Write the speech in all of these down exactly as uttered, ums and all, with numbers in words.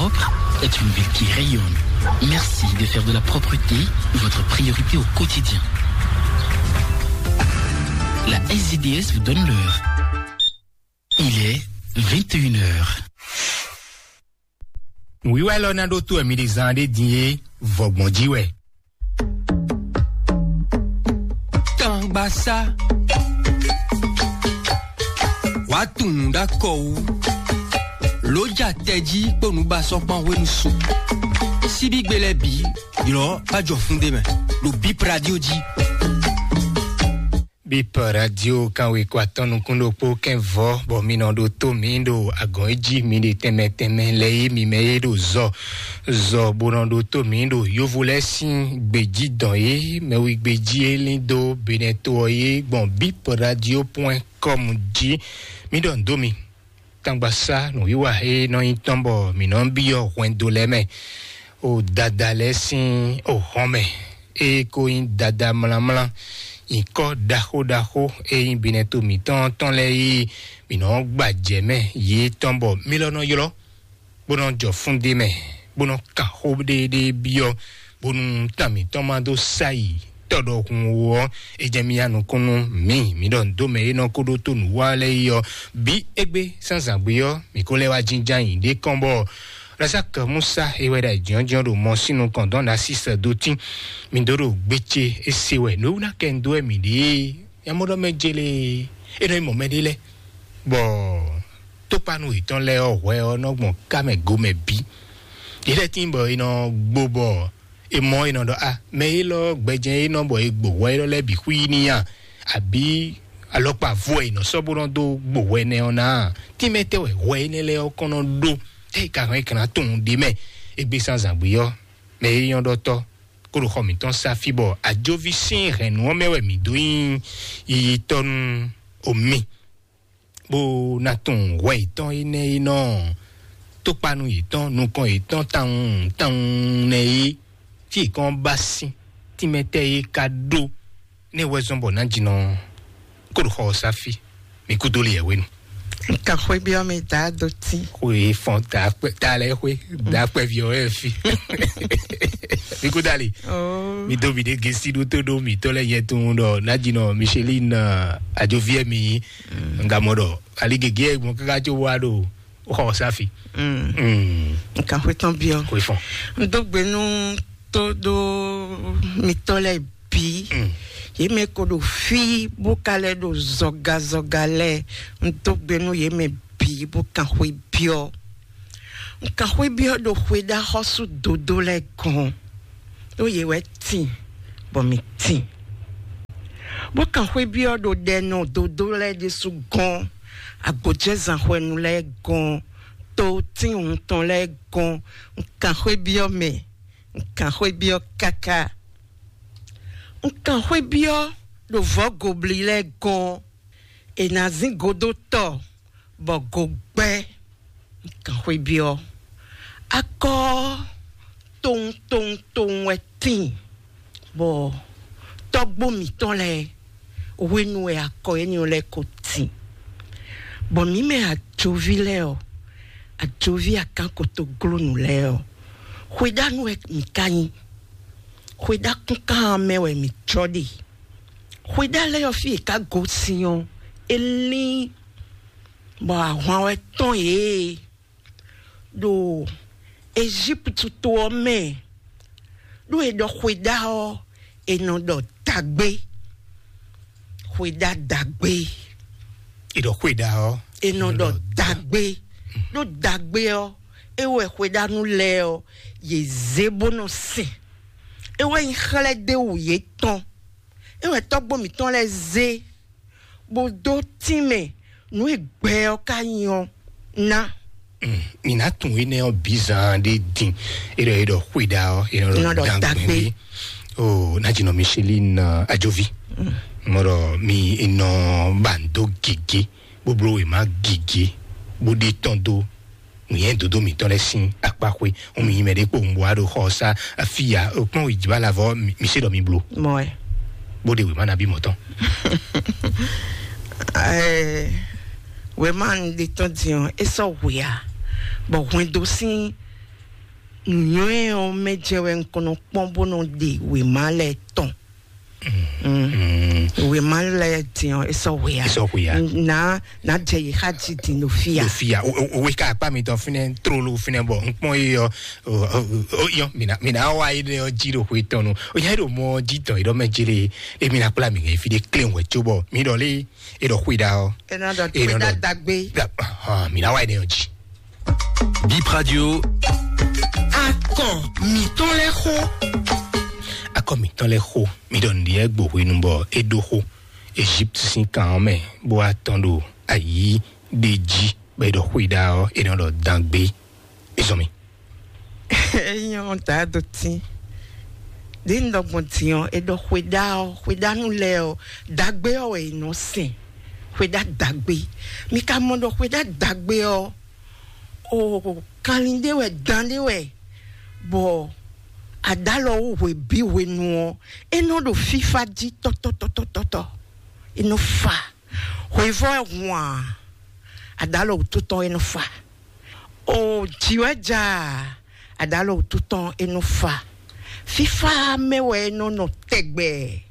Propre est une ville qui rayonne. Merci de faire de la propreté votre priorité au quotidien. La S D D S vous donne l'heure. Il est vingt et une heures. Nǔwiwa élɔ́ ná ɖó tó wɛ mi ɖe zán ɖé din é, vɔgbɔn jí wɛ. Tangbasá. Wàá tunwun ɖó akɔ wú. Lǒ ja tɛjí kpó nǔbasɔ́kpán hwenu su. Síbígbe lɛ́ɛ bǐ, ylɔ̌ bá jɔ fún ɖé mɛ, ɖo Bip Radio jí. Bip Radio kanwe kɔ atɔn nukún ɖokpó kɛn vɔ, bɔ mi nɔ ɖo tó mi ɖo agɔn e jí mi ɖe tɛnmɛ tɛnmɛ lɛ yé mi mɛ yé ɖo zɔ zɔ bó nɔ ɖo tó mi ɖo yovo lɛ́ɛ sín gbějí dɔn yé mɛwi gbějí e lín dó Benɛto ɔ́ yé gbɔn Bip Radio point com jí. Mi ɖɔ nǔ dó mi. Tangbasá nǔwiwa e nɔ nyí tɔn bɔ mǐ nɔ byɔ́ hwɛndo lɛ́ɛ mɛ, o dada lɛ́ɛ sín o hɔn mɛ, e ko nyí dada mlánmlán, nyǐkɔ ɖaxó ɖaxó e nyí binɛto mǐtɔn tɔn lɛ́ɛ yí mǐ nɔ gbajɛ mɛ yě tɔn bɔ mí lɔ nɔ ylɔ́, bó nɔ jɔ fún ɖé mɛ, bó nɔ kan xó ɖéɖé byɔ́, bónú tán mǐtɔn ma dó sa yi tɔ́ ɖɔhun ó ɔ́, é jɛ mì ya nukúnnú mǐ, mǐ ɖɔ nǔ dó mɛ e nɔ ko ɖótó nǔ wa lɛ́ɛ yi ɔ́, bǐ égbé zǎnzǎngbé ɔ́, mǐ ko lɛ́ wá jínjɔ́n ayǐ ɖé kɔn bɔ Razak Musa e wɛ ɖo ayǐjínjɔ́n ɖo mɔ sín nukɔn dɔn Nasis dó tín. Mǐ dó ɖo gbéce é se wɛ nǔ e wú ná kɛ nu dó wɛ mǐ ɖe é. Yamɔɖɔ mɛ jele é nɔ nyí mɔ̌ mɛ ɖé lɛ́ɛ, bɔ tókpanu yětɔn lɛ́ɛ ɔ́ hwɛ ɔ́ nɔ gbɔn ká mɛ go mɛ bǐ. Yě lɛ́ tíin bɔ è nɔ gbo bɔ è mɔ è nɔ ɖɔ a mɛ élɔ́ gbɛjɛ́n é nɔ bɔ è gbo hwɛ élɔ́ lɛ́ɛ bǐ xwí n'i a, abǐ alɔkpa vo wɛ è nɔ sɔ́ bó nɔ dó gbo hwɛ nɛ ɔ́ ná a? Tínmɛ tɛ́ wɛ hwɛ énɛ́ lɛ́ɛ ɔ́ kɔn nɔ ɖó? Tɛ́ è ka hɛn è ka ná tunwun ɖ'é mɛ? Égbé zǎnzǎngbé ɔ́, mɛ e nyɔ́ ɖɔtɔ́ kó ɖo xɔ mǐtɔn sá fí bɔ ajoví sín hɛ̌nnu ɔ́ mɛ wɛ mǐ dó nyí yiyitɔ́ nú omi, bó ná tunwun hwɛ yětɔn énɛ́ e nɔ tókpanu yětɔn nukɔn yětɔn tawun tawun nɛ́ é, fí è kɔn ba sín tínmɛ tɛ́ é ka ɖó. Nɛ́ wɛ zɔ́n bɔ nǎjínɔ kó ɖo xɔ ɔ́ sá fí. Mi kú dó li yɛ̌wénu. Nkan xwé byɔ́ mi dǎ dó tí. Xwé fɔn ta kpɛ ta lɛ xwé dá kpɛ vi ɔ́ wɛ fi. Mi kú dali. Oh. Mi dó mi ɖe gesi ɖó tó ɖó mi tɔ lɛ yɛ tun ɖɔ nǎjínɔ Micheline ajoviɛ mi nga mɔ ɖɔ ali gege mɔ kaka tso wa ɖo xɔ safi. Mm. Nkan xwé tɔn byɔ́. Xwé fɔn. N dó gbe nú tó ɖó mitɔ́ lɛ́ɛ bǐ. Mm. Yě mɛ ko ɖo fí bó ka lɛ́ ɖo zɔgazɔga lɛ́ɛ. N dó gbe nú yě mɛ bǐ bó kan xwé byɔ́. N kan xwé byɔ́ ɖo xwéɖaxɔ́sú dodó lɛ́ɛ gɔ́n, ɖó yě wɛ tin, bɔ mǐ tin. Bó kan xwé byɔ́ ɖo ɖɛnɔ dodó lɛ́ɛ ɖésú gɔ́n, agbǒjɛzán hwɛnu lɛ́ɛ gɔ́n, to tín wuntɔn lɛ́ɛ gɔ́n. Un kan xwé byɔ́ mɛ, un kan xwé byɔ́ káká. Un kan xwé byɔ́ ɖo vɔ̌ gobli lɛ́ɛ gɔ́n, è nǎ zín godó tɔ bɔ go gbɛ́. Un kan xwé byɔ́. Akɔ ɔ́ towun towun towun wɛ tíin, bɔ tɔ́gbó mǐtɔn lɛ́ɛ hwenu wɛ akɔ énɛ́ lɛ́ɛ ko tíin. Bɔ mǐ mɛ ajoví lɛ́ɛ ɔ́, ajoví akánkotoglónú lɛ́ɛ ɔ́, xwéɖánu wɛ mǐ ka nyí. Xwéɖákúnkan ɔ́ mɛ wɛ mǐ jɔ ɖe. Xwéɖá lɛ́ɛ ɔ́ fí e ka gosín ɔ́, é lín bɔ ahwan wɛ tɔ́n yě ɖo Ejíptu to ɔ́ mɛ, ɖó è ɖɔ xwéɖá ɔ́, è nɔ ɖɔ dǎgbé. Xwéɖá dǎgbé. È ɖɔ xwéɖá ɔ́, è nɔ ɖɔ dǎgbé. Ɖó dǎgbé ɔ́, é wɛ xwéɖánu lɛ́ɛ ɔ́, yě zé bó nɔ sɛn. É wɛ nyí xlɛ́ ɖéwǔ yětɔn. É wɛ tɔ́gbó mǐtɔn lɛ́ɛ zé bó dó tínmɛ nǔ e gbɛ ɔ́ ka nyí ɔ́ ná. Mǐ ná tunwun énɛ́ ɔ́ bǐ zaan ɖé din. É ɖɔ é ɖɔ xwéɖá ɔ́, é nɔ ɖɔ dǎgbé. O ná jinɔ Micheline ajovi. Mɔɖɔ mi nɔ ba ndo gègé, bó bló wěma gègé, bó ɖe tɔn dó nǔnyɛ dodo mǐtɔn lɛ́ɛ sín akpa xwé. Ŋun mi nyi mɛ ɖé kpowun bó wá ɖo xɔ ɔ́ sá afíya kpɔ́n wějibá lavɔ mi se ɖɔ mi blo. Mɔɛ. Bó ɖe wěma nabí mɔ̌ tɔn. Ɛɛ, wěma ɖe tɔn din ɔ́, é sɔ́ hwe ǎ, bɔ hwɛndo sín Nǔnywɛ́ ɔ́ mɛ jɛ wɛ un kɔn nɔ kpɔ́n bó nɔ ɖe wěma lɛ́ɛ tɔn. Wěma lɛ́ɛ din ɔ́, é sɔ́ hwe ǎ. É sɔ́ hwe ǎ. Nǎ nǎ jɛ yi xá jí din ɖo fí ǎ. Ɖo fí ǎ. O- o- owe ká akpá mitɔn fínɛ́ tlóló fínɛ́ bɔ un kpɔ́n é ɔ́. O- o- o- yɔ, mina mina wa yi ɖe ɔ́ jí ɖo xwe tɔn nu. O nya ɖo mɔ jí tɔn yi ɖɔ mɛ jele. Emi na kpla mi ŋɛ fi ɖe klé wɛ tso bɔ mi ɖɔ lé e ɖɔ xwe ɖa ɔ́. Ena ɖɔ e nɔ xwe ɖa ɖɔ dagbe. Mina wa yi ɖe ɔ́ jí. Bip Radio. Akɔ mǐtɔn lɛ́ xo. Akɔ mǐtɔn lɛ́ xo. Mi ɖɔ nǔɖiɖi gbo hwenu bɔ é ɖó xo Egypt sín kan ɔ́ mɛ bó wá tɔn ɖo ayǐ ɖé jí bɔ é ɖɔ xwe ɖa ɔ́ é nɔ ɖɔ dangbe. Izɔn mi. Enyɔ da do tin. Ɖe un ɖɔ gbɔn din ɔ́, é ɖɔ xwedá ɔ́, xwedánú lɛ́ɛ ɔ́, dagbe ɔ́ wɛ è nɔ sɛn. Xwedá dagbe. Mi ka mɔ ɖɔ xwedá dagbe ɔ́, o kanlin ɖé wɛ, dan ɖé wɛ, bɔ adalɔ wú hwe bí hwenu ɔ́, é nɔ ɖo fífá jí tɔ́tɔ́tɔ́tɔ́tɔ́. É nɔ fa. Hwevɔ́ ɛ hun a, adalɔ wútu tɔn é nɔ fa. O jǐ wɛ ja, adalɔ wútu tɔn é nɔ fa. Fífá mɛ wɛ é nɔ nɔ tɛgbɛ.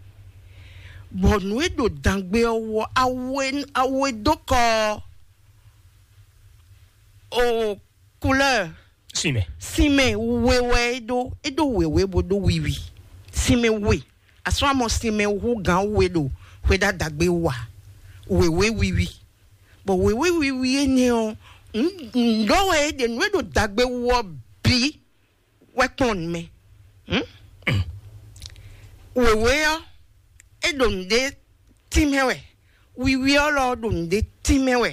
Bɔ nǔ e ɖo dangbe ɔ́ wɔ awe awe dó kɔ ɔ́. O couleur. Sinmɛ. Sinmɛ we wɛ é ɖó, é ɖó wěwé bó ɖó wiwi. Sinmɛ we. Asɔ́ amɔ sinmɛ hú gǎn we ɖo xwedá dagbe wa. Wěwé wiwi. Bɔ wěwé wiwi énɛ́ ɔ́, nǔ wɛ é ɖe nǔ e ɖo dagbe wú ɔ́ bǐ wɛ kplɔ́n nǔ mɛ. Wěwé ɔ́, é ɖo nǔɖé tínmɛ wɛ. Wiwi ɔ́ lɔ ɖo nǔɖé tínmɛ wɛ.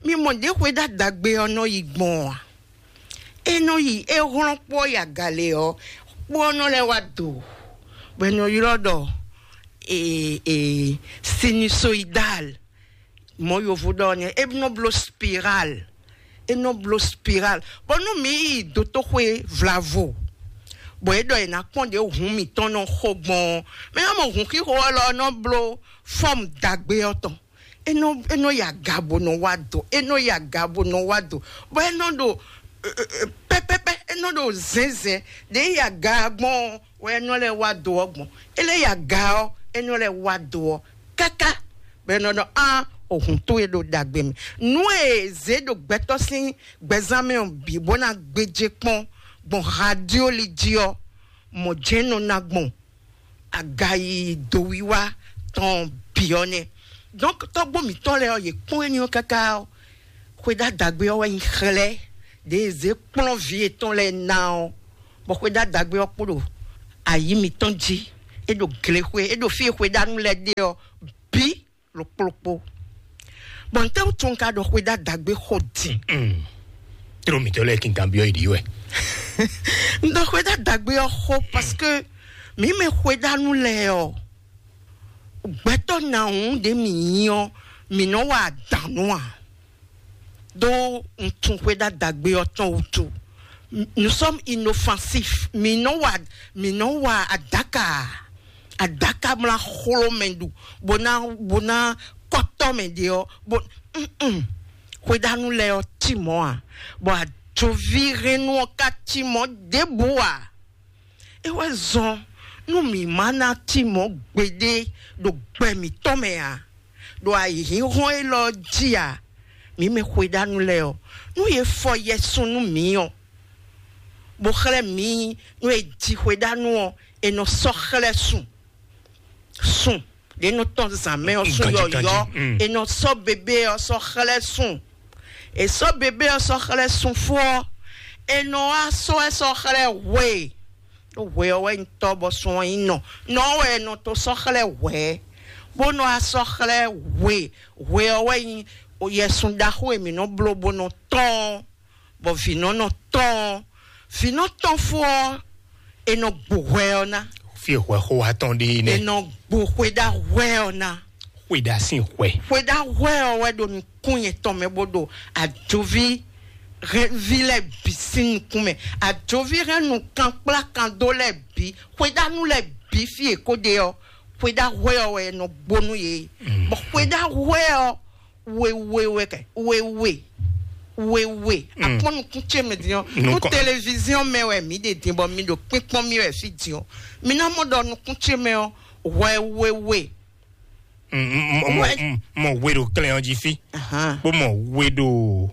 Mi mɔ ɖě xwedá dagbe ɔ́ nɔ yi gbɔn ɔ́ a? É nɔ yi é hlɔ́n kpó ɔ́ yi aga lě ɔ́, kpó ɔ́ nɔ lɛ́ wá do, bɔ è nɔ ylɔ́ ɖɔ ee ee sinusoidal. Mɔ̌ yovo ɖɔ ɔ́ nɛ́, é nɔ bló spiral. É nɔ bló spiral. Bɔ nú mǐ yi dotóxwé vlavo, bɔ é ɖɔ è nǎ kpɔ́n ɖě hǔn mǐtɔn nɔ xo gbɔn ɔ́, mɛ ná mɔ hǔn xixo ɔ́ lɔ nɔ bló fɔ́mu dagbe ɔ́ tɔn. É nɔ é nɔ yi aga bó nɔ wá do, é nɔ yi aga bó nɔ wá do, bɔ é nɔ ɖo pɛpɛpɛ, é nɔ ɖo zɛnzɛn ɖě yi aga gbɔn ɔ́ wɛ é nɔ lɛ́ wá do ɔ́ gbɔn. É lɛ́ yi aga ɔ́, é nɔ lɛ́ wá do ɔ́ káká, bɔ é nɔ ɖɔ á, ohun towe ɖo ɖagbe mɛ. Nú e zě ɖo gbɛtɔ́ sín gbɛzán mɛ ɔ́ bǐ bó ná gbéjé kpɔ́n gbɔn hadioli jí ɔ́, mɔ̌ jɛ́n nɔ ná gbɔn. Agayi dowiwa tɔn bǐ ɔ́ nɛ́. Donc tɔ́gbó mǐtɔn lɛ́ɛ ɔ́, yě kpɔ́n éní ɔ́ káká ɔ́, xwedá dagbe ɔ́ wɛ nyi xlɛ́ ɖě e zě kplɔ́n vǐ yětɔn lɛ́ɛ ná ɔ́, bɔ xwedá dagbe ɔ́ kpo ɖo ayǐ mǐtɔn jí, é ɖo glexwé, é ɖo fí e xwedánú lɛ́ɛ ɖe ɔ́ bǐ ɖokplokpó. Bɔ ntɛ́ wútu un ka ɖɔ xwedá dagbe xo din? Tló mǐtɔn lɛ́ɛ kínkan byɔ́ yi ɖi wɛ. Un ɖɔ xwedá dagbe ɔ́ xo parce que mǐ mɛ xwedánú lɛ́ɛ ɔ́, gbɛtɔ́ nǎwún ɖě mǐ nyí ɔ́, mǐ nɔ wa adǎn nú a? Ɖó un tunwun xwedá dagbe ɔ́ tɔn wútu. Nous sommes inoffensifs. Mǐ nɔ wa mǐ nɔ wa adaka. Adaka mla xló mɛ ɖu, bó ná bó ná kɔtɔ mɛ ɖe ɔ́, bó mm xwedánú lɛ́ɛ ɔ́ cí mɔ̌ a? Bɔ ajoví hɛnnú ɔ́ ka cí mɔ̌ ɖěbǔ a? É wɛ zɔn nú mǐ má ná cí mɔ̌ gbeɖé ɖo gbɛ mǐtɔn mɛ a? Ɖo ayǐhínhɔ́n élɔ́ jí a? Mǐ mɛ xwedánú lɛ́ɛ ɔ́, nú yě fɔ yɛsun nú mǐ ɔ́, bó xlɛ́ mǐ nú è ji xwedánú ɔ́, è nɔ sɔ́ xlɛ́ sun. Sun ɖě nɔ tɔn zǎn mɛ ɔ́, sun yɔ̌yɔ́, è nɔ sɔ́ bebé ɔ́ sɔ́ xlɛ́ sun. È sɔ́ bebé ɔ́ sɔ́ xlɛ́ sun fó ɔ́, è nɔ wá sɔ́ ɛ sɔ́ xlɛ́ hwe. Ɖó hwe ɔ́ wɛ nyí tɔ́ bɔ sun ɔ́ nyí nɔ. Nɔ ɔ́ wɛ è nɔ to sɔ́ xlɛ́ hwɛ, bó nɔ wá sɔ́ xlɛ́ hwe. Hwe ɔ́ wɛ nyí yɛsun ɖaxó e mǐ nɔ bló bó nɔ tɔ́n ɔ́, bɔ vǐnɔ́nɔ tɔn ɔ́, vǐnɔ tɔn fó ɔ́, è nɔ gbo hwɛ ɔ́ ná. Fí e hwɛ xó wa tɔn ɖe é nɛ́. È nɔ gbo xwedá hwɛ ɔ́ ná. Xwedá sín hwɛ. Xwedá hwɛ ɔ́ wɛ ɖo nukún yɛtɔn mɛ bó ɖo ajoví hɛnví lɛ́ɛ bǐ sín nukún mɛ. Ajoví hɛn nukɔn kplá kan dó lɛ́ɛ bǐ, xwedánú lɛ́ɛ bǐ fí e kó ɖe ɔ́, xwedá hwɛ ɔ́ wɛ è nɔ gbo nú yě. Bɔ xwedá hwɛ ɔ́, wewe wɛ kɛ wewe. wewe. Akpɔ́n nukún ce mɛ din ɔ́, nú téléviziɔn mɛ wɛ mǐ ɖe din bɔ mi ɖo kpínkpɔ́n mì wɛ fí din ɔ́, mi ná mɔ ɖɔ nukún ce mɛ ɔ́, hwɛ wewe. Mɔ we ɖo klɛn ɔ́ jí fí, bó mɔ we ɖo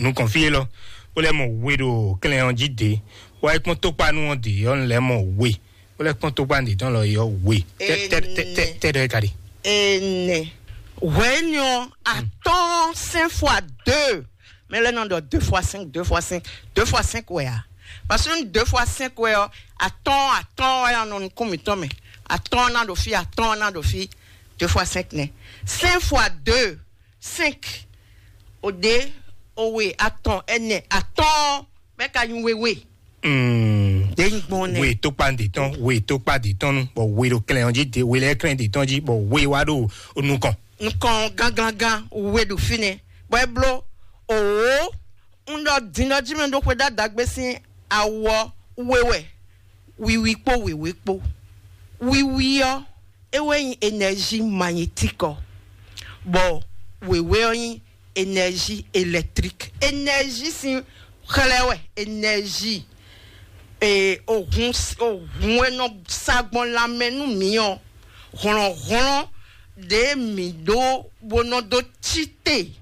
nukɔn fí élɔ́, bó lɛ́ mɔ we ɖo klɛn ɔ́ jí dě, wá é kpɔ́n tókpanu ɔ́ dě ɔ́, un lɛ́ mɔ we, bó lɛ́ kpɔ́n tókpanu dě tɔn lɔ ɔ́ we. Tɛ́ ɖɔ é ka ɖe? Ene. Hwɛ̌nyɔ atɔ́ɔ́n cinq fois deux. Mais là non, de deux fois cinq, deux fois cinq, deux fois cinq, ouais. Parce que deux fois cinq, ouais, attends, attends, ouais, on compte, mais attends, on a de filles, attends, on a de filles, deux fois cinq, né. Cinq fois deux, cinq. Au dé, au oui, attends, elle n'est, attends, mais quand oui, oui. Ɖe nyí gbɔn nɛ. We tó kpa ɖe tɔn, we tó kpa ɖe tɔn nu, bɔ we ɖo klɛn ɔ́ jí, ɖe we lɛ́ klɛn ɖe tɔn jí, bɔ we wá ɖo nukɔn. Nukɔn gánglangán we ɖo fínɛ́, bɔ é bló òwò. Un ɖɔ din ɔ́ jí mɛ ɖó xwe ɖó adǎgbé sín awɔ we wɛ, wiwi kpó wěwé kpó. Wiwi ɔ́, é wɛ nyí énergie magnétique ɔ́, bɔ wěwé ɔ́ nyí énergie électrique. Énergie sín xlɛ́ wɛ, énergie e ohun ohun e nɔ sa gbɔn lanmɛ nú mǐ ɔ́, hlɔ̌nhlɔ́n ɖě mǐ ɖó bó nɔ dó cí te,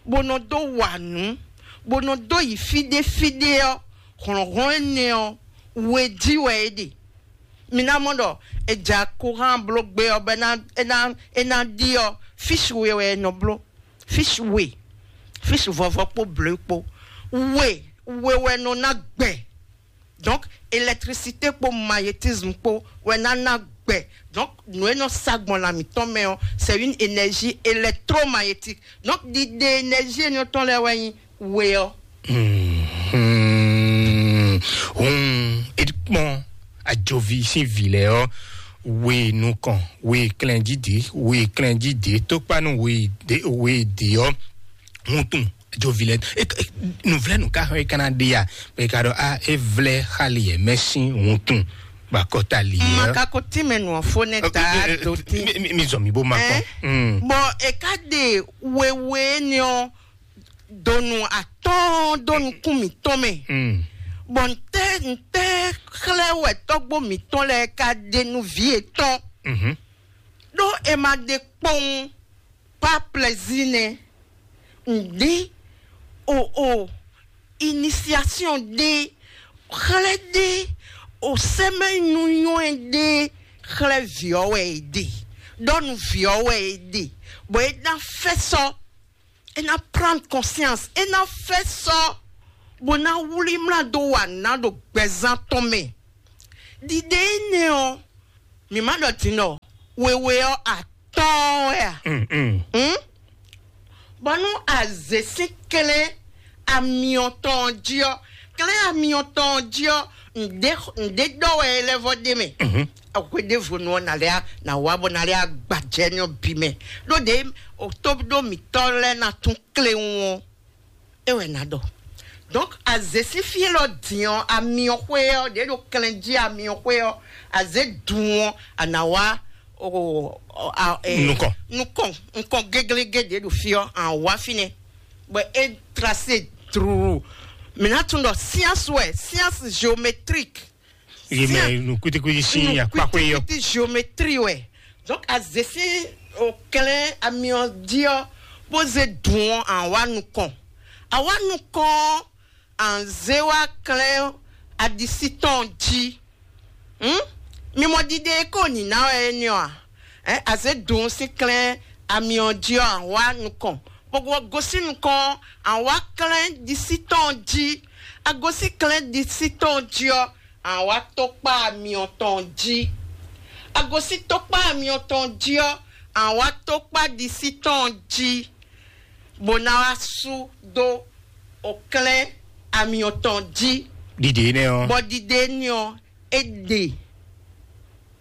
bó nɔ dó wa nǔ, bó nɔ dó yi fí ɖé fí ɖé ɔ́, hlɔ̌nhlɔ́n énɛ́ ɔ́, we jí wɛ é ɖe. Mi ná mɔ ɖɔ è ja kuran bló gbé ɔ́ bɔ é ná é ná é ná ɖi ɔ́, físi we wɛ è nɔ bló, físi we, físi vɔvɔ kpó blǒ kpó. We we wɛ nɔ ná gbɛ. Donc électricité kpó magnétisme kpó wɛ ná ná gbɛ. Donc nǔ e nɔ sa gbɔn lan mǐtɔn mɛ ɔ́, c'est une énergie électromagnétique. Donc ɖiɖe énergie énɛ́ tɔn lɛ́ɛ wɛ nyí we ɔ́. Hun, é kpɔn ajovi sín vǐ lɛ́ɛ ɔ́, we nukɔn, we klɛnjídě, we klɛnjídě, tókpánu we dě, we dě ɔ́, hun tun ajovi lɛ́ɛ. Nǔvlɛ́nu ka xɔ é ka ná ɖe ya, bɔ é ka ɖɔ a é vlɛ́ xali yɛ mɛ sín hun tun, bɔ akɔta li yɛ. Maka ko tí mɛ nù ɔfó nɛ ta do tí. Mi zɔ mi bó ma kpɔn. Bɔn é ka ɖe wewe ni ɔ donu atɔn do nukún mǐtɔn mɛ. Bɔn ntɛ ntɛ xlɛ wɛ tɔgbo mǐtɔn lɛ ka ɖe nu vi etɔn. Ɖó e ma ɖe kpɔn pa plaisir nɛ. Ŋdi o o initiation ɖe xlɛ ɖe o sɛmɛ nyunyɔ ɖe xlɛ viɔ wɛ e ɖe ɖɔ nu viɔ wɛ e ɖe bɔ e na fɛ sɔ e na prendre conscience e na fɛ sɔ bó ná wlí mlá dó wa ná ɖo gbɛzán tɔn mɛ. Ɖiɖe énɛ́ ɔ́, mǐ ma ɖɔ din ɖɔ wewe ɔ́ atɔ́ɔ́n wɛ a? Bɔ nú azě sín klɛ́n amyɔ tɔn jí ɔ́, klɛ́n amyɔ tɔn jí ɔ́, ǹdé ǹdé ɖɔ wɛ é lɛ́ vɔ ɖé mɛ. Hweɖěvonu ɔ́, nǎ lɛ́ nǎ wá bɔ nǎ lɛ́ agbajɛ ní ɔ́ bǐ mɛ. Ɖó ɖě tó ɖó mǐtɔn lɛ́ɛ ná tún kléwún ɔ́, é wɛ ná ɖɔ. Donc azě sín fí élɔ́ din ɔ́, amyɔ xwé ɔ́, ɖě ɖo klɛn jí amyɔ xwé ɔ́, azě dun ɔ́, a nǎ wá o- o- a- e- Nukɔn. Nukɔn nukɔn géglégé ɖě ɖo fí ɔ́, a wá fínɛ́. Bɔ é trasé druu. Mǐ ná tunwun ɖɔ science wɛ, science géométrique. Yé mɛ nu kwitikwiti sín akpákpé yɔ. Kwitikwiti géométrie wɛ. Donc azé sín o klɛn amyɔ jí ɔ́, bó zé dùn ɔ́, a wá nukɔn. A wá nukɔn ɔ́, a zé wá klɛn aɖisí tɔn jí. Hm? Mi mɔ ɖiɖe e ko nǐ ná wɛ é nɛ́ ɔ́ a? Ɛ̌, a zě dun sín klɛ́n amyɔ jí ɔ́, a wá nukɔn, bó gosín nukɔn ɔ́, a wá klɛ́n ɖisí tɔn jí. A gosín klɛ́n ɖisí tɔn jí ɔ́, a wá tokpá amyɔ tɔn jí. A gosín tokpá amyɔ tɔn jí ɔ́, a wá tokpá ɖisí tɔn jí, bó ná wá sú dó o klɛ́n amyɔ tɔn jí. Ɖiɖe énɛ́ ɔ́. Bɔ ɖiɖe énɛ́ ɔ́, é ɖe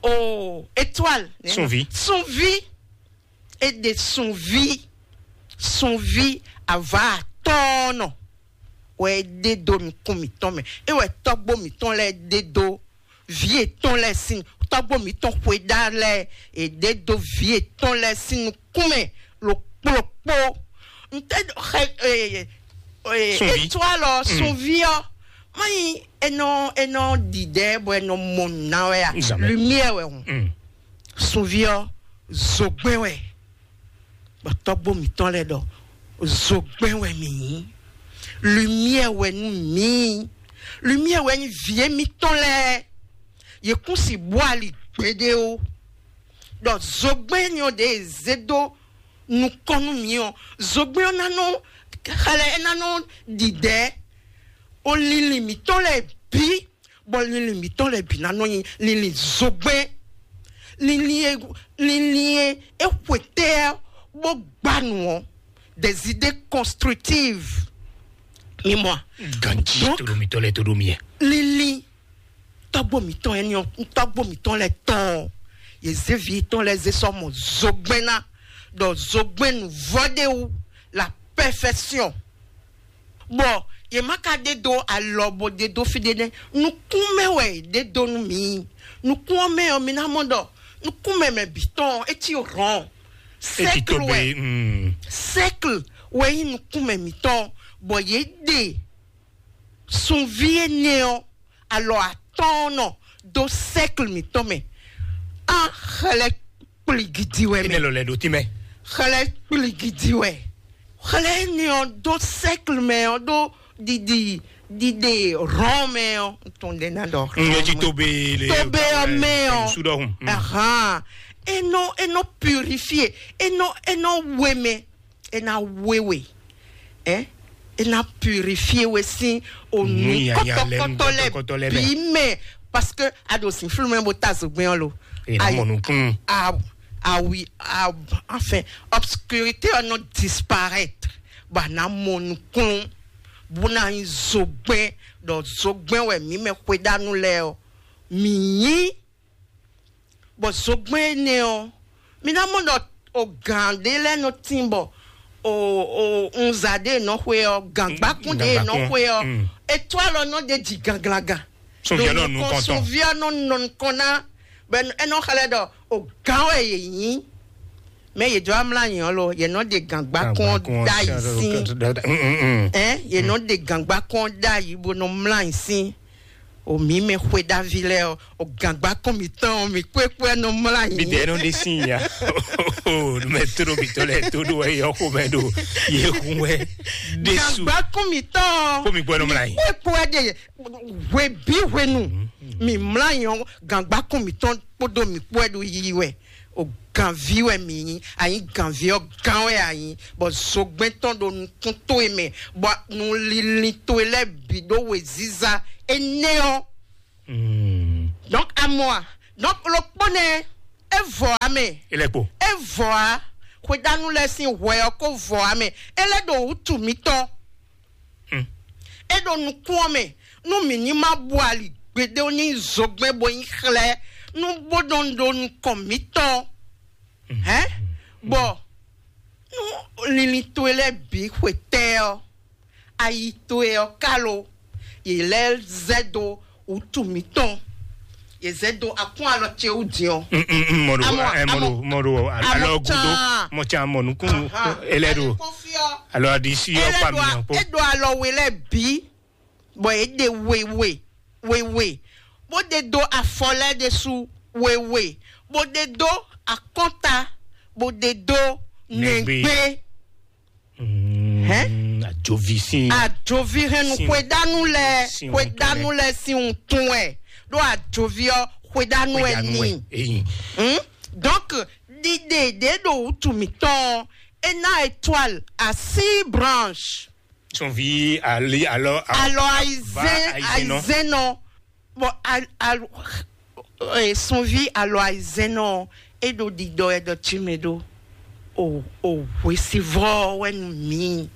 o étoile. Sunvi. Sunvi. É ɖe sunvi. Sunvi ava atɔ́ɔ́nɔ wɛ é ɖe dó nukún mǐtɔn mɛ. É wɛ tɔ́gbó mǐtɔn lɛ́ɛ ɖe dó vǐ yětɔn lɛ́ɛ sín, tɔ́gbó mǐtɔn xweɖá lɛ́ɛ, è ɖe dó vǐ yětɔn lɛ́ɛ sín nukún mɛ ɖokpó ɖokpó. N tɛ xɛ ee ee Sunvi. Etwalɔ sunvi ɔ, mayi enɔ enɔ didɛ bɔ enɔ mɔ nuna wɛ ya. Jamais. Lumière wɛ hùn. Mm. Sunvi ɔ, zogbɛn wɛ. Bɔ tɔgbo mitɔn lɛ dɔ, zogbɛn wɛ mi yí. Lumière wɛ nu mi. Lumière wɛ ni vie mitɔn lɛ. Ye kún si bɔ ali gbede o. Dɔ zogbɛn ni ɔ de zé dó nukɔn nú mǐ ɔ́, zogbɛ́n ɔ́ ná nɔ xlɛ́, é ná nɔ ɖiɖɛ̌ o linlin mǐtɔn lɛ́ɛ bǐ, bɔ linlin mǐtɔn lɛ́ɛ bǐ ná nɔ nyi linlin zogbɛ́n. Linlin e linlin e é xwetɛ́ ɔ́ bó gbá nǔ ɔ́, des idées constructives. Mi mɔ a? Ganji. Donc, to ɖo mitɔn lɛ́ɛ to ɖo mi. Linlin tɔ́gbó mǐtɔn ɛni ɔ́, tɔ́gbó mǐtɔn lɛ́ɛ tɔn ɔ́, yě zé vǐ tɔn lɛ́ɛ zé sɔ́ mɔ zogbɛ́n ná, ɖɔ zogbɛ́n nǔvɔ́ ɖé wú la perfection. Bɔ yě má ka ɖe dó alɔ bó ɖe dó fí ɖé nɛ́. Nukún mɛ wɛ yě ɖe dó nú mǐ. Nukún ɔ́ mɛ ɔ́, mi ná mɔ ɖɔ nukún mɛ mɛ bǐ tɔn ɔ́, é cí hɔn. Sɛ́kl wɛ. Sɛ́kl wɛ nyí nukún mɛ mǐtɔn, bɔ yě ɖe sunví énɛ́ ɔ́, alɔ atɔ́ɔ́nnɔ dó sɛ́kl mǐtɔn mɛ. Á xlɛ́ kpligidi wɛ mɛ. Énɛ́ lɔ lɛ ɖo tínmɛ. Xlɛ́ kpligidi wɛ. Xlɛ́ énɛ́ ɔ́ dó sɛ́kl mɛ ɔ́ ɖó ɖiɖi ɖiɖe rɔn mɛ ɔ́. Tɔn ɖe ná ɖɔ. N yɛ jí tobe le. Tobe ɔ́ mɛ ɔ́. Su ɖɔhun. Ahan. Enɔ enɔ purifié, enɔ enɔ wemɛ, ena wewe, ɛ ena purifié we sín onu kɔtɔkɔtɔ lɛ bí mɛ, parce que a ɖo sin flu mɛ bó ta zogbɛn ɔ́ lo. Ena mɔ nukun. Ah, ah oui, ah, enfin, obscurité ɔ́ nɔ disparaître, bɔ a nǎ mɔ nukun bó ná nyí zogbɛn, ɖɔ zogbɛn wɛ mǐ mɛ xwedánú lɛ́ɛ ɔ́ mǐ nyí. Bɔ zogbɛ́n énɛ́ ɔ́, mi ná mɔ ɖɔ o gǎn ɖé lɛ́ɛ nɔ tín bɔ o o unza ɖé nɔ xwe ɔ́, gǎngbákún ɖé nɔ xwe ɔ́, etwálɔ nɔ ɖe ji ganglagan. Sunviɛ nɔ nukɔn tɔn. Sunviɛ nɔ nɔ nukɔn ná, bɛ ɛ nɔ xlɛ́ ɖɔ o gǎn wɛ yě nyí. Mɛ yě jɔ amla nyi ɔ́ lo, yě nɔ ɖe gǎngbákún ɔ́ ɖ'ayǐ sín. Ɛ yě nɔ ɖe gǎngbákún ɔ́ ɖ'ayǐ bó nɔ mlá ayǐ sín. O mǐ mɛ xwe ɖavi lɛ́ɛ ɔ́, o gǎngbákún mǐtɔn ɔ́, mǐ kpékpé nɔ mlá nyi. Bidɛ nɔ ɖe sin ya. O mɛ tóɖo mǐtɔn lɛ́ɛ tóɖo wɛ yɔ xomɛ ɖo yě hun wɛ ɖésú. Gǎngbákún mǐtɔn ɔ́, kó mi gbɔ nɔ mlá nyi. Mǐ kpékpé ɖe hwe bí hwenu mǐ mlá nyi ɔ́, gǎngbákún mǐtɔn kpódó mǐ kpó wɛ ɖo yiyi wɛ. O gǎnví wɛ mǐ nyí, a nyí gǎnví ɔ́ gán wɛ a nyí, bɔ zogbɛ́n tɔn ɖo nukún towe mɛ, bɔ nu linlin towe lɛ́ɛ bǐ ɖó wěziza énɛ́ ɔ́. Donc amɔ a, donc ɖokpó nɛ́, é vɔ ǎ mɛ. Ilẹ̀kpo. É vɔ ǎ. Xwedánú lɛ́ɛ sín hwɛ ɔ́ kó vɔ ǎ mɛ. É lɛ́ ɖo wútu mǐtɔn. É ɖo nukún ɔ́ mɛ, nú mǐ ní má bu ali gbeɖé ní zogbɛ́n bó nyí xlɛ́, nú bó nɔ ɖo nukɔn mǐtɔn. Hɛn, bɔ nú linlin towe lɛ́ɛ bǐ xwetɛ́ ɔ́, ayi towe ɔ́ ka lo, yě lɛ́ zɛ dó wútu mǐtɔn, yě zɛ dó akún alɔ ce wú din ɔ́. Mɔɖo mɔɖo mɔɖo alɔ gudo mɔtsa mɔnukun. Ele ɖo alɔ adisi ɔkpa mi yan kpó. Eɖo alɔ we lɛ bi, bɔ eɖe wewe wewe, bó de do afɔ lɛ ɖesu wewe, bó de do akɔnta, bó de do nɛgbé. Hɛn? Ajovi sin. Ajovi hɛn nu xwedanu lɛ, xwedanu lɛ sin wutun wɛ, ɖo ajovi ɔ xwedanu wɛ ni. Donc ɖiɖe ɖe ɖo wutu mǐtɔn ɔ́, e ná étoile à six branches. Son vi ali alɔ. Alɔ aizɛn aizɛn nɔ. Bɔ al al e sunvi alɔ aizɛn nɔ, e ɖo ɖiɖɔ ɛ ɖɔ tsi mɛ ɖo o o hwesivɔ wɛ nu mi.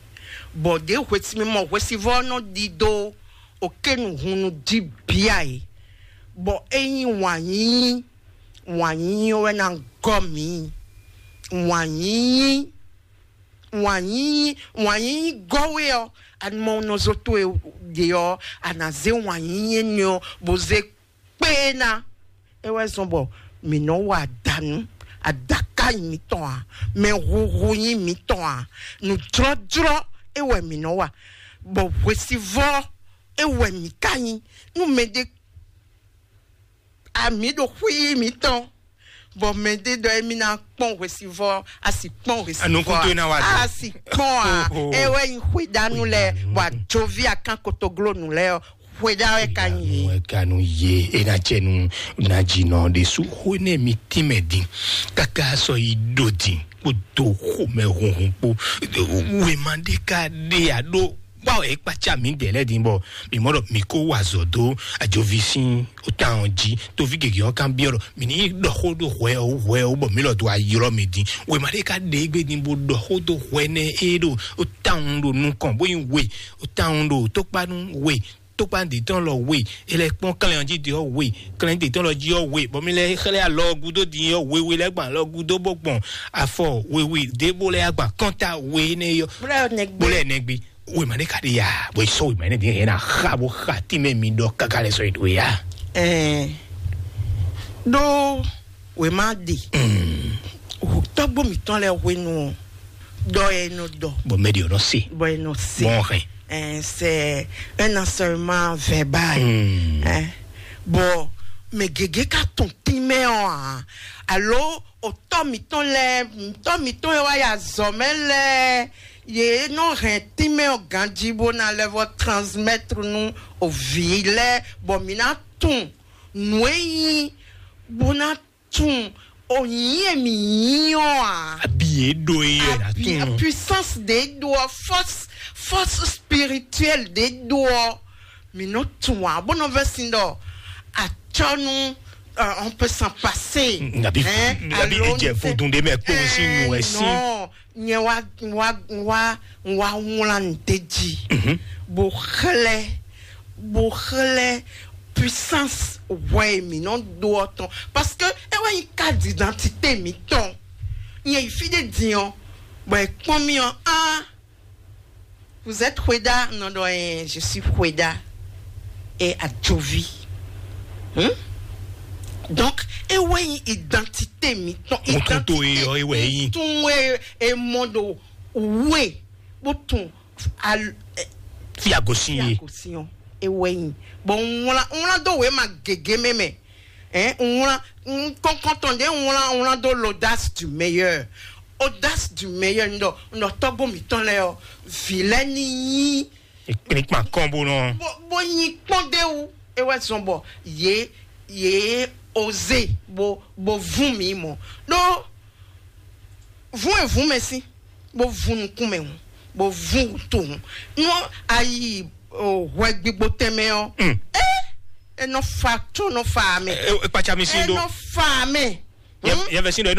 Bɔ ɖe hwesi mi mɔ hwesivɔ nɔ ɖiɖo o ke nu hun nu di bia e. Bɔ e nyi wanyinyi, wanyinyi wɛ na gɔ mi. Wanyinyi wanyinyi wanyinyi gɔ́ we ɔ́, anumɔnɔzo towe ɖe ɔ́, a nǎ zé wanyinyi énɛ́ ɔ́ bó zé kpé ná. É wɛ zɔn bɔ mǐ nɔ wa adǎnu, adaká nyí mǐtɔn ǎ, mɛ huhu nyí mǐtɔn ǎ, nǔjlɔ́jlɔ́ é wɛ mǐ nɔ wa, bɔ hwesivɔ́ é wɛ mǐ ka nyí. Nú mɛɖé ami ɖo xwí mǐtɔn, bɔ mɛɖé ɖɔ émí ná kpɔ́n hwesivɔ́, a sì kpɔ́n hwesivɔ́, a nukún towe ná wá dó, a sì kpɔ́n a. Ewé nyi xwedanu lɛ, bɔ ajoví akán kotoglónu lɛ ɔ, xwedá wɛ ka nyi. Ɛ ka nu ye e na cɛ nu na dzi nɔ ɖe su xó nɛ mi tínmɛ din kaka sɔ yi ɖo din kpó do xomɛ hunhun kpó. Wema ɖé ka ɖe a ɖó wa wɛ e kpatsa mi dɛ lɛ din bɔ mi mɔ ɖɔ mi ko wa zɔ do ajovi sin o tan ɔ dzi. Tovi gege ɔ kan biɔ ɖɔ mi ni ɖɔ xó ɖo hwɛ ɔ hwɛ ɔ bɔ mi lɔ do ayɔlɔ mi din. Wema ɖé ka ɖe egbe din bo ɖɔ xó do hwɛ nɛ e ɖo o tan ɖo nukɔn bo nyi we o tan ɖo tokpanu we, tokpan ɖě tɔn lɔ we, e lɛ kpɔ́n klɛn ɔ́ jí ɖě ɔ́ we, klɛn ɖě tɔn lɔ jí ɔ́ we, bɔ mi lɛ xlɛ́ alɔ gúdo din ɔ́ we, we lɛ gbɔn alɔ gúdo bó gbɔn afɔ we we ɖěbó lɛ agban kɔnta we énɛ́ yɔ. Bó lɛ nɛgbé. Bó lɛ nɛgbé. Wema ɖé ka ɖe ya, bɔ sɔ wema ɖé yɛn na xa bó xa tínmɛ mi ɖɔ káká lɛ sɔ yi ɖo ya. Ɛɛ ɖó wema ɖe tɔgbó mitɔn lɛ hwenu ɔ, ɖɔ yɛ nɔ ɖɔ. Bɔ mɛ ɖe ɔnɔ se. Bɔ yɛ nɔ se. Bɔn hɛn. Ɛɛ c'est un enseignement verbal. Ɛɛ bɔ mɛ gègé ka tɔn tínmɛ ɔ hàn alo otɔ mitɔn lɛ, otɔ mitɔn yɛ wá ya zɔ mɛ lɛ, yɛ nɔ hɛn tínmɛ ɔ ganji bó ná lɛ vɔ transmettre nú ovi lɛ bɔ mi ná tún nǔ e nyí bó ná tún o nyí èmi nyí ɔ́ ǎ. Abi yě ɖo é yɛ ná tún. Puissance ɖě ɖo ɔ, force force spirituelle ɖě ɖo ɔ, mi nɔ tún ǎ bó nɔ vɛ sin ɖɔ atsɔnu, euh, on peut s'en passer. Nabi nabi alo jɛ vodun ɖé mɛ kpó sí nu ɛ sí. Non, nyɛ wá wá wá wá wlán ɖe jí bó xlɛ́ bó xlɛ́ puissance hwɛ e mǐ nɔ ɖó ɔ́ tɔn, parce que é wɛ nyí carte d'identité mǐtɔn. Nyɛ yi fí ɖé din ɔ́, bɔ è kpɔ́n mì ɔ́, ah, vous êtes Hweda? Non, non, eh, je suis Hweda et Adjovi. Hmm? Donc é wɛ nyí identité mǐtɔn. Identité ɔ́ é wɛ nyí. Tún e e mɔ ɖo wé bó tún al- eh, fi agosin ye. Agosin ɔ́ é wɛ nyí. Bon, ŋlá ŋlá dó wé ma gègé mɛ mɛ. Hein, ŋlá kɔnkɔntɔn ɖé ŋlá ŋlá dó l'audace du meilleur. Audace du meilleur ŋdɔ ŋdɔ tɔgbó mǐtɔn lɛ ɔ, vi lɛ ní yí. Ekplikpan kɔn bó nɔ. Bó bó yí kpɔ́n dé wú é wɛ zɔn bɔ yé yé oze bó bó vún mi mɔ ɖó vún e vún mɛ sí bó vún nukún mɛ hùn bó vún wútu hùn nú ayi hwɛ gbígbó tɛnmɛ ɔ. Ɛ ɛ nɔ fa tó nɔ fa mɛ. Ɛ kpatsa mi sí ɛ ɖó. Nɔ fa mɛ. Yɛ yɛ fɛ sí ɖɔ.